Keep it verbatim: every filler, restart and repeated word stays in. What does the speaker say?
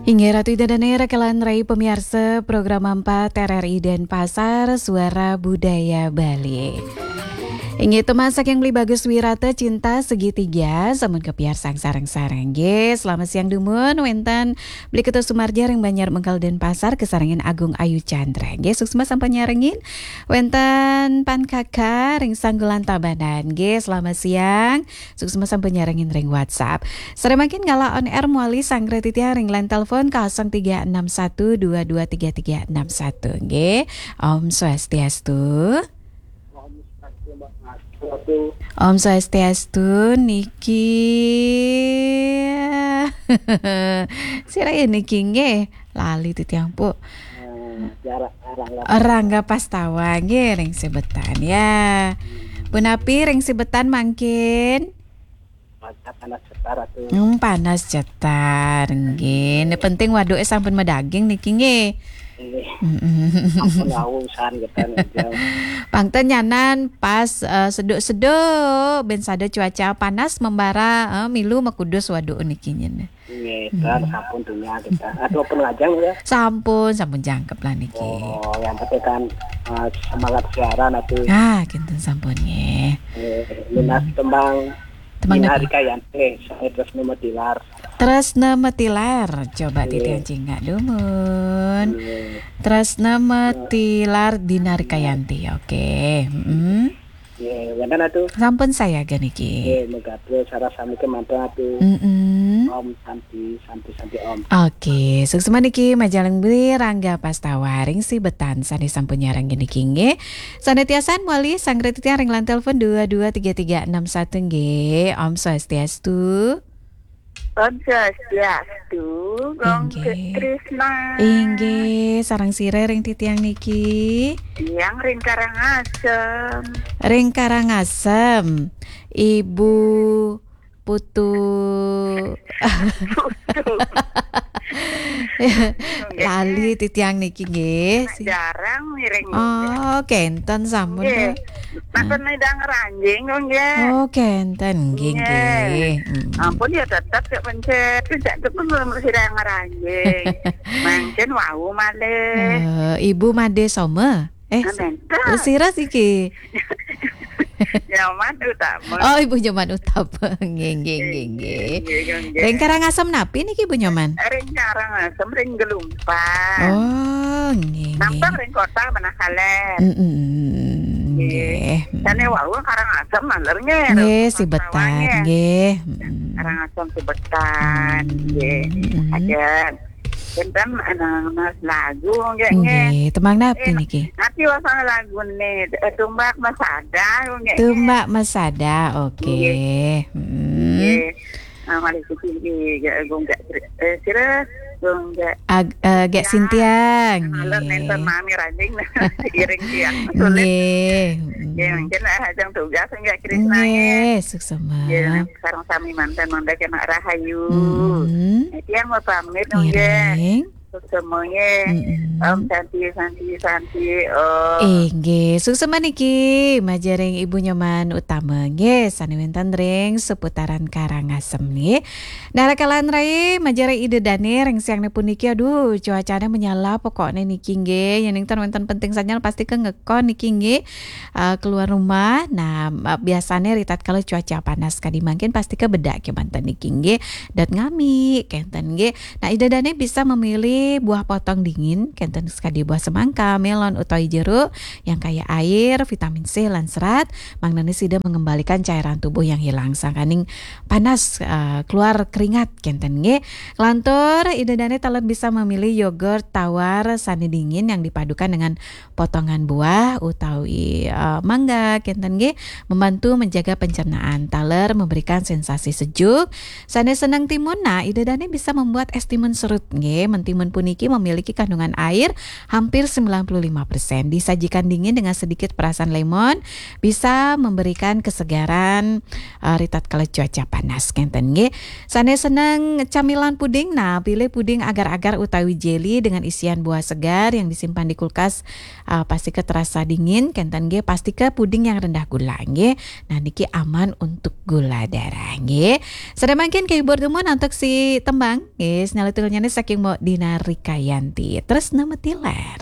Inggih Ratu Ida Dane, rakalan rai pamiarsa Program empat R R I Denpasar, Suara Budaya Bali. Inggih, tembang saking Beli Bagus Wirata, Cinta Segitiga, sampun kapiarsang sareng-sareng. Nggih, selamat siang dumun, wenten Beli Ketua Sumarja ring Banjar Mengkal Denpasar, kasarengin Agung Ayu Chandra. Nggih, suksma sampun nyarengin, wenten Pan Kaka ring Sanggulan Tabanan. Nggih, selamat siang. Suksma sampun nyarengin ring WhatsApp. Sare mangkin galah on air mawali sanggra titiang ring line telepon kosong tiga enam satu dua dua tiga tiga enam satu, nggih. Om Swastiastu. Om Swastiastu, Mbak Mas. Waduh. Om Swastiastu niki. Sira ya niki nggih. Lali titiang, Pu. Eh, jarak, Rangga. Rangga Pastawa nggih ring Sibetan ya. Punapi ring Sibetan mangkin? Panas, panas cetar atuh. Hmm, panas cetar nggih. Ini penting waduke sampun madaging niki nggih. Nggih. Mm-mm. Sampun wau usahan kita nih, Jam. Pang ten nyanan pas, eh, seduk-seduk, ben sada cuaca panas membara, eh, milu makudus waduk niki nyen. Nggih, kan sampun dunya kita. Aduh, pun ngajeng ya. Sampun, sampun jangkep lah niki. Oh, yang penting kan, eh, semangat siaran atuh. Ah, kinten sampun nggih. Eh, minat tembang Tembang Dina napi? Rikayanti, saya Tresna Metilar. Tresna Metilar, coba Nggih. Titiang cingak dumun. Nggih. Tresna Metilar Dina Rikayanti, oke. Mm-mm. Nggih, wenten atuh. Sampun sayaga niki. Nggih, megatrus sareng sami kemanten atuh. Mm-mm. Om Santi, Santi, Santi Om. Oke, suksma niki Majalengka Beli Rangga Pastawa ring Sibetan sane sampun nyarengin niki nggih. Sane tiasan mawali sanggra titiang ring line telepon dua dua tiga tiga enam satu nggih. Om Swastiastu. Om Swastiastu, Gong Inggih. Krisna. Inggih, sareng sira ring titiang niki? Tiang ring Karangasem. Ring Karangasem, Ibu Putu. Putu. Lali titiang niki nggih. Jarang ngiring. Oh, kenten sampun. Nggih. Tuh. Maksudnya udah ngeranjing kok nggih. Oh, kenten nggih, nggih. Nggih. Mm. Ampun ya tetep ya pencet, pencet itu pun belum sida ngeranjing. Mangkin wau malih. Eh, Ibu Made Soma? Eh, ah, nenten. Sira siki? Nyoman Utama. Oh, Ibu Nyoman Utama. Nggih, nggih, nggih, nggih. Nggih, nggih, nggih. Ring Karangasem napi niki, Bu Nyoman? Ring Karangasem, ring Gelumpang. Oh, nggih, nggih. Nampang ring kota Manah Kaler. Mm-mm, nggih. Nggih. Sane wau Karangasem maler nggih. Nggih, Sibetan, nggih. Mm-mm. Karangasem Sibetan, nggih. Mm-mm. Ajeng. Wenten anak lagu nggih, nggih. Nggih, tembang napi niki? Napi wasana lagune? Eh, Tumbak Masada nggih. Tumbak Masada, oke. Nggih. Mm. Nggih. Ah, malih suci nggih, nggih, Gung Gak, eh, sira, Gung Gak. Ag-, eh, Gak Sintiang. Halo, nggih. Nenten mami ranjing, iring tiang sulit. Nggih. Nggih, mungkin lah ajeng tugas nggih Krisna, nggih. Nggih, suksema. Nggih, sareng sami manten mangda kena rahayu. Mm-mm. Tiang mau pamit, nggih. Ngiring. Suksema nggih. Mm-mm. Om Santi, Santi, Santi, Om. Inggih, suksema niki majeng ring Ibu Nyoman Utama nggih, sane wenten ring seputaran Karangasem nggih. Nah, rakalan rai majeng ring Ida Dane ring siangne puniki, aduh, cuacane menyala pokokne niki nggih. Yen enten penting sanjang pasti ke ngekon niki nggih. Eh, keluar rumah. Nah, eh, biasane ritatkala cuaca panas kadi mangkin pasti ke bedak kemanten niki nggih. Dot ngami kenten nggih. Nah, Ida Dane bisa memilih buah potong dingin, kenten sekadi buah semangka, melon, utawi jeruk yang kaya air, vitamin C lan serat, mangdane sida mengembalikan cairan tubuh yang hilang, sangkaning panas, eh, keluar keringat, kenten nggih. Lantur, Ida Dane taler bisa memilih yogurt tawar sane dingin yang dipadukan dengan potongan buah utawi, eh, mangga, kenten nggih, membantu menjaga pencernaan, taler memberikan sensasi sejuk. Sane seneng timun, nah, Ida Dane bisa membuat es timun serut nggih, mentimun puniki memiliki kandungan air hampir sembilan puluh lima persen. Disajikan dingin dengan sedikit perasan lemon, bisa memberikan kesegaran, eh, ri tatkala cuaca panas, kenten nggih. Sane seneng camilan puding, nah, pilih puding agar-agar utawi jelly dengan isian buah segar yang disimpan di kulkas, eh, pastika terasa dingin, kenten nggih, pastika puding yang rendah gula nggih. Nah, niki aman untuk gula darah nggih. Sane mangkin kehibur dumun antuk si tembang nggih, sane tulnyane saking Mbok Dina Rikayanti. Terus nama tilar.